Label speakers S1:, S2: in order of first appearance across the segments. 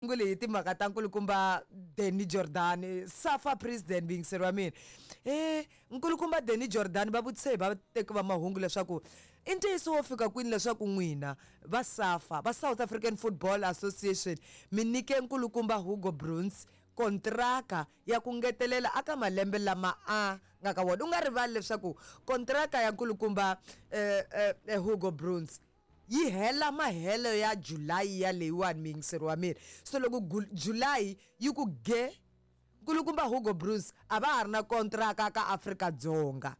S1: Ngule hi timhaka ta nkulukumba Danny Jordan SAFA president muyingiseri wa mina e nkulukumba Danny Jordan va vutise hi vateki va mahungu leswaku i ntiyiso wo fika kwini leswaku n'wina va SAFA va South African Football Association mi nyike nkulukumba Hugo Broos kontraka ya ku ngetelela aka malembe lama a nga ka wona u nga rivali leswaku kontraka ya nkulukumba eh, eh, Hugo Broos yi hela mahelo ya July ya leyiwani muyingiseri wa mina so loko July yi ku ge nkulukumba Hugo Broos a va ha ri na kontraka ka Afrika-Dzonga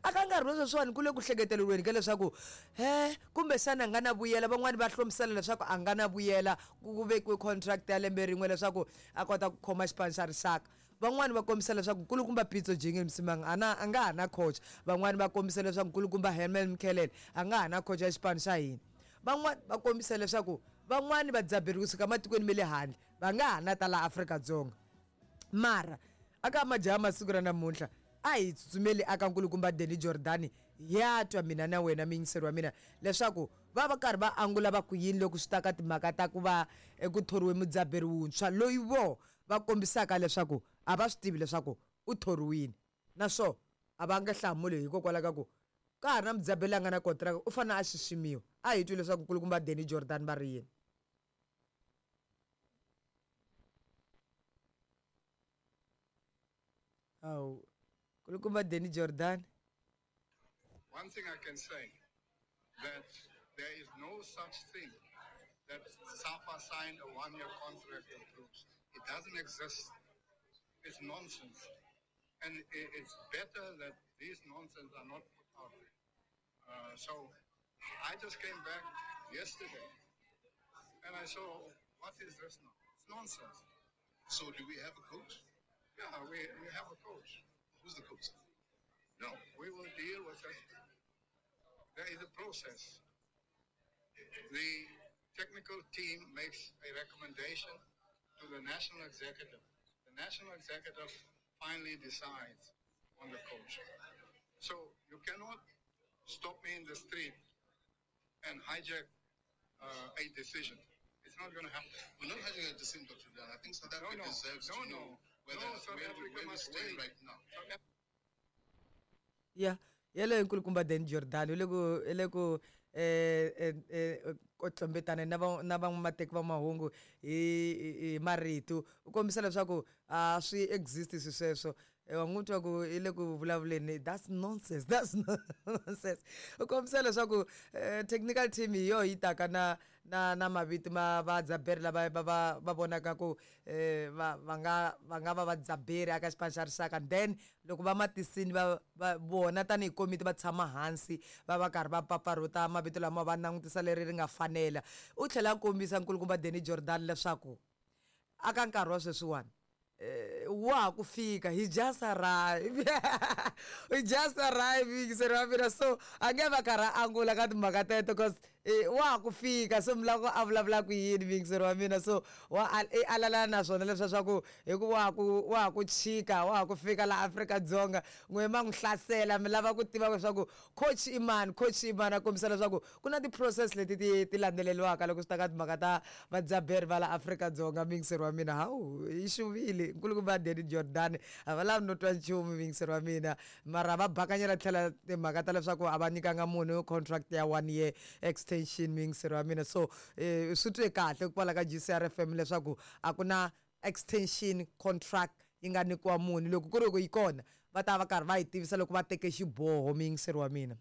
S1: a ka nkarhi wa sweswiwani ku le ku hleketeleriweni ka leswaku he kumbexana a nga na vuyela van'wani va hlomisela leswaku a nga na vuyela ku vekiwe contract ya lembe rin'we leswaku a kota ku khoma xipano xa rixaka Van'wana va kombisa leswaku Nkulukumba Pitso Jingil Msimang a na a nga ha na khocha. Van'wana va kombisa leswaku Nkulukumba Herman Mkhelele a nga ha na khocha ya xipano xa hina. Van'wana va kombisa leswaku van'wana vadzaberi kusuka matikweni ma le handle va nga ha na ta laha Afrika-Dzonga. Mara aka majaha ma siku ra namuntlha a hi tsutsumeli aka Nkulukumba Danny Jordaan hi ya twa mina na wena muyingiseri wa mina leswaku va va karhi va angula va ku yini loko swi ta ka timhaka ta ku va ku thoriwe mudzaberi wuntshwa loyi vo va kombisaka leswaku a va swi tivi leswaku u thoriwile naswo a va nge hlamuli hikokwalaho ka ku ka ha ri na mudzaberi la nga na kontiraka u fanele a xiximiwa. A hi twi leswaku nkulukumba Danny Jordaan va ri yini. Hawu, nkulukumba Danny Jordaan.
S2: One thing I can say that there is no such thing that SAFA signed a one-year contract with Broos. It doesn't exist. It's nonsense. And it's better that these nonsense are not put out there. So I just came back yesterday and I saw, what is this now? It's nonsense.
S3: So do we have a coach?
S2: Yeah, we have a coach.
S3: Who's the coach?
S2: No, we will deal with it. There is a process. The technical team makes a recommendation to the national executive. The national executive finally decides on the coach. So you cannot stop me in the street and hijack a decision. It's not going to happen.
S3: We're not hijacking a decision, Dr. Dan. I think South
S2: No,
S3: Africa
S2: no.
S3: deserves
S2: No,
S3: to
S2: no.
S3: know whether
S2: No, South
S3: where,
S2: Africa
S3: where we
S2: must
S3: stand
S2: wait.
S3: right now.
S2: South
S1: Ya yeleyo nkulukumba Dan Jordan u le ku u le ku ku tlombetana na va na van'wamateki va mahungu hi hi marito u kombisa leswaku a swi exist swi sweswo wa n'wi twa ku i le ku vulavuleni that's nonsense that's nonsense u kombisa leswaku technical team hi yoho yi taka na na na mavito ma vadzaberi lava va va va vonaka ku va va nga va nga va vadzaberi aka xipano xa rixaka then loko va ma tisini va va vona tanihi komiti va tshama hansi va va karhi va pfapfarhuta mavito lama va langutisa leri ri nga fanela u tlhela a kombisa nkulukumba Danny Jordaan leswaku aka nkarhi wa sweswiwani wa ha ku fika he just arrived he just arrived yingiseri wa mina so a nge va karhi a angula ka timhaka teto cause wa ha ku fika so mi lava ku a vulavula ku yini muyingiseri wa mina so wa i alalana na swona leswiya swa ku hi ku wa ha ku wa ha ku chika wa ha ku fika laha Afrika-Dzonga n'we ma n'wi hlasela mi lava ku tiva leswaku coach i mani coach i mani a kombisa leswaku ku na ti-process leti ti ti landzeleriwaka loko swi ta ka timhaka ta vadzaberi va la Afrika-Dzonga muyingiseri wa mina hawu yi xuvile nkulukumba Danny Jordaan a va lavi no twa nchumu muyingiseri wa mina mara va bakanyela tlhela timhaka ta leswaku a va nyikanga munhu contract ya one year extension muyingiseri wa mina so swi twe kahle kwala ka G_C_R F_M leswaku a ku na extension contract yi nga nyikiwa munhu loko ku ri ku yi kona va ta va karhi va yi tivisa loko va teke xiboho muyingiseri wa mina.